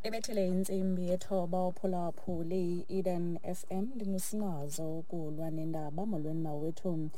Ibethele intsimbi yethoba uphulaphuli i-Eden FM. Ndingusinazo ukulwa nendaba. Molweni mawethu.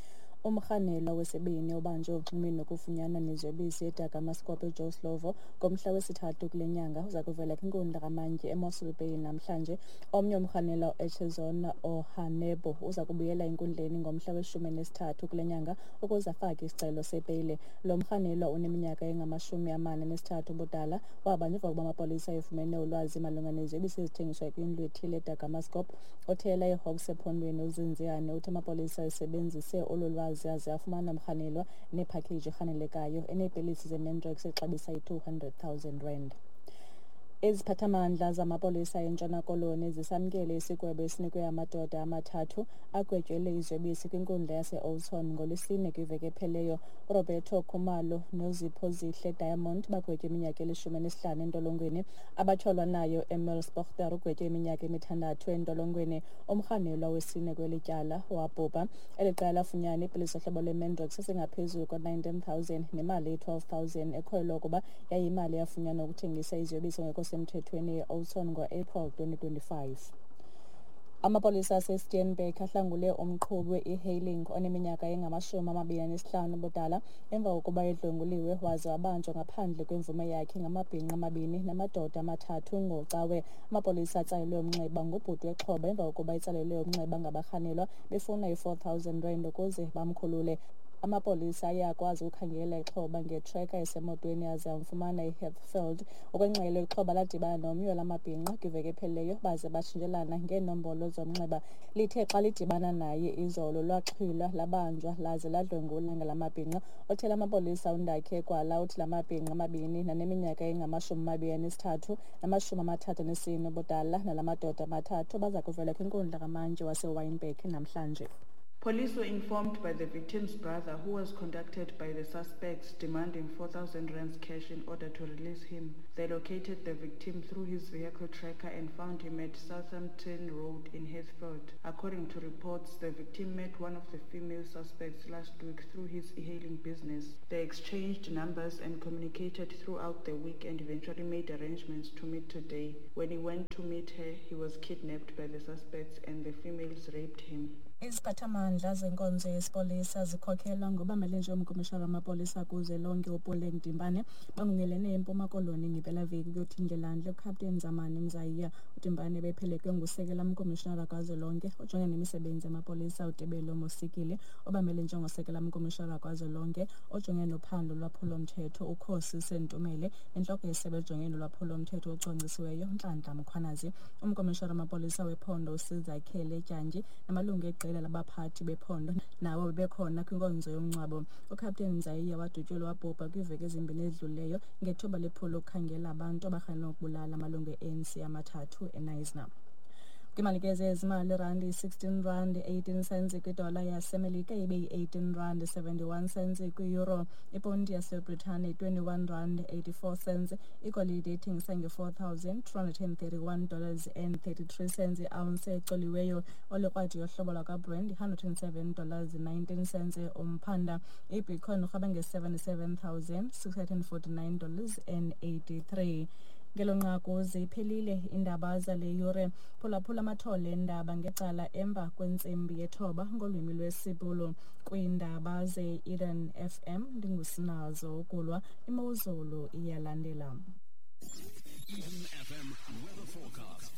Umrhanelwa wesibini obanjwe uxhumini nokufunyanwa neziyobisi eDagamaskop eJoe Slovo ngomhla wesithathu kule nyanga uza kuvela kwinkundla kamantyi eMossel Bay namhlanje. Omnye umrhanelwa, Echezona Ohanebo, uza kubuyela enkundleni ngomhla we-13 kule nyanga ukuze afake isicelo sebheyile. Lo mrhanelwa uneminyaka engama-43 ubudala wabanjwa emva kokuba amapolisa efumene ulwazi malunga neziyobisi ezithengiswa kwindlu ethile eDagamaskop. Othela iHawks ephondweni uZinziane uthi amapolisa esebenzise olu lwazi aze afumana umrhanelwa nephakheji erhanelekayo eneepilisi zeMandrax exabisa i-200 000 rand. Iziphathamandla zamapolisa eNtshona Koloni zisamkele isigwebo esinikwe amadoda amathathu agwetyelwe iziyobisi kwinkundla yase-Oudtshoorn ngoLwesine kwiveki ephelileyo. URoberto Khumalo noZipho Zihle Diamond bagwetywe iminyaka eli-15 entolongweni. Abatyholwa nayo Emil Spochter ugwetywe iminyaka emithandathu entolongweni. Umrhanelwa wesine kweli tyala wabhubha. Eli qela lafunyana iipilisi zohlobo lweMandrax ezingaphezulu kwe-19 000 nemali eyi-12 000 ekholelwa ukuba yayiyimali eyafunyanwa ukuthengisa iziyobisi ngekho semthethweni e-Oudtshoorn ngo-April 2025. Amapolisa aseSteenberg ahlangule umqhubi we-e-hailing oneminyaka engama-25 ubudala emva kokuba edlwenguliwe waze wabanjwa ngaphandle kwemvume yakhe ngamabhinqa amabini namadoda amathathu ngoCawe. Amapolisa atsalelwe umnxeba ngubhuti wexhoba emva kokuba etsalelwe umnxeba ngabarhanelwa befuna i-4 000 rand ukuze bamkhulule. Amapolisa aye akwazi ukukhangela ixhoba ngetreka esemotweni aze amfumana eHatfield. Ngokwengxelo, ixhoba ladibana nomnye wala mabhinqa kwiveki ephelileyo baze batshintshelana ngeenombolo zomnxeba. Lithe xa lidibana naye izolo lwaxhwilwa, labanjwa laze ladlwengulwa ngala mabhinqa. Othela amapolisa uNdakhe Kwala uthi la mabhinqa amabini naneminyaka engama-23 nama-34 ubudala nala madoda amathathu baza kuvela kwinkundla kamantyi waseWynberg namhlanje. Police were informed by the victim's brother, who was contacted by the suspects demanding 4,000 rands cash in order to release him. They located the victim through his vehicle tracker and found him at Southampton Road in Heathfield. According to reports, the victim met one of the female suspects last week through his e-hailing business. They exchanged numbers and communicated throughout the week and eventually made arrangements to meet today. When he went to meet her, he was kidnapped by the suspects and the females raped him. Iziphathamandla zenkonzo yesipolisa zikhokhelwa ngobamele umkomishara wamapolisa kuzwelonke uPuleng Dimpane bangungelene eMpuma Koloni ngempelaveki ukuyothi ndlelandle uKapteni Zamani Mzayiya. UDimpane bephelekwe ngusekela mkomishinara kazwelonke ojongene nemisebenzi yamapolisa uTebello Mosikili, obamele njengosekela mkomishinara kazwelonke ojongene nophando lolwaphulomthetho uKhosi Sentumele, nentloko yesebe ejongene nolwaphulomthetho ocwangcisiweyo Nhlanhla Mkhwanazi. Umkomishara wamapolisa wephondo uSizakhele Dyantyi namalungu eqela labaphathi bephondo nabo bebekhona kwinkonzo yomngcwabo. UKapteni Mzayiya wadutyulwa wabhubha kwiiveki ezimbini ezidlulileyo ngethuba lephulo lokukhangela abantu abarhanelwa ukubulala amalungu e-ANC amathathu eKnysna. Kwimali ke zezimali, irandi yi-16 rand 18 cents kwidola yaseMelika, ibe yi-18 rand 71 cents kwi-euro. Iponti yaseBritane 21 rand 84 cents. Igolide ithengisa nge-$4,231 and 33 cents i-ounce ecoliweyo. Olikrwadi yohlobo lwakwaBrent $107 19 cents umphanda. Ibitcoin urhaba nge-$77,649 and 83. Ngelo nqaku ziphelile iindaba zale yure. Phulaphula amathole endaba ngecala emva kwentsimbi yethoba ngolwimi lwesiBhulu kwiindaba ze-Eden FM. Ndingusinazo ukulwa. Imozulu iyalandela. Eden FM weather forecast.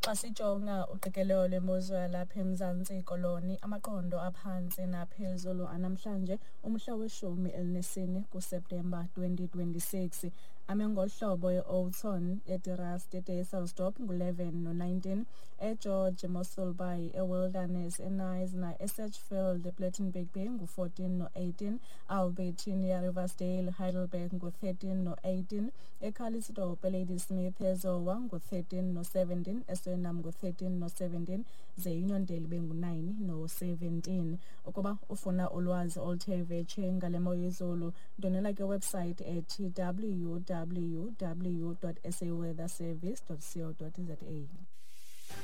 Xa sijonga uqikelelo lwemozulu yalapha eMzantsi Koloni, amaqondo aphantsi naphezulu anamhlanje umhla we-14 kuSeptemba 2026 ame ngohlobo: e-Oudtshoorn, eDe Rust, eDysselsdorp ngu-11 no-19, eGeorge, Mossel Bay, eWilderness, eKnysna, eSedgefield, ePlettenberg Bay ngu-14 no-18, Albertinia, Riversdale, Heidelberg ngu-13 no-18, eCalitzdorp, eLadysmith, eZowa ngu-13 no-17, eSurinam ngu-13 no-17, ze Uniondale ibe ngu-9 no-17. Ukuba ufuna ulwazi oluthe vetshe ngale mo yezulu, ndonela ke website ethi www.saweatherservice.co.za.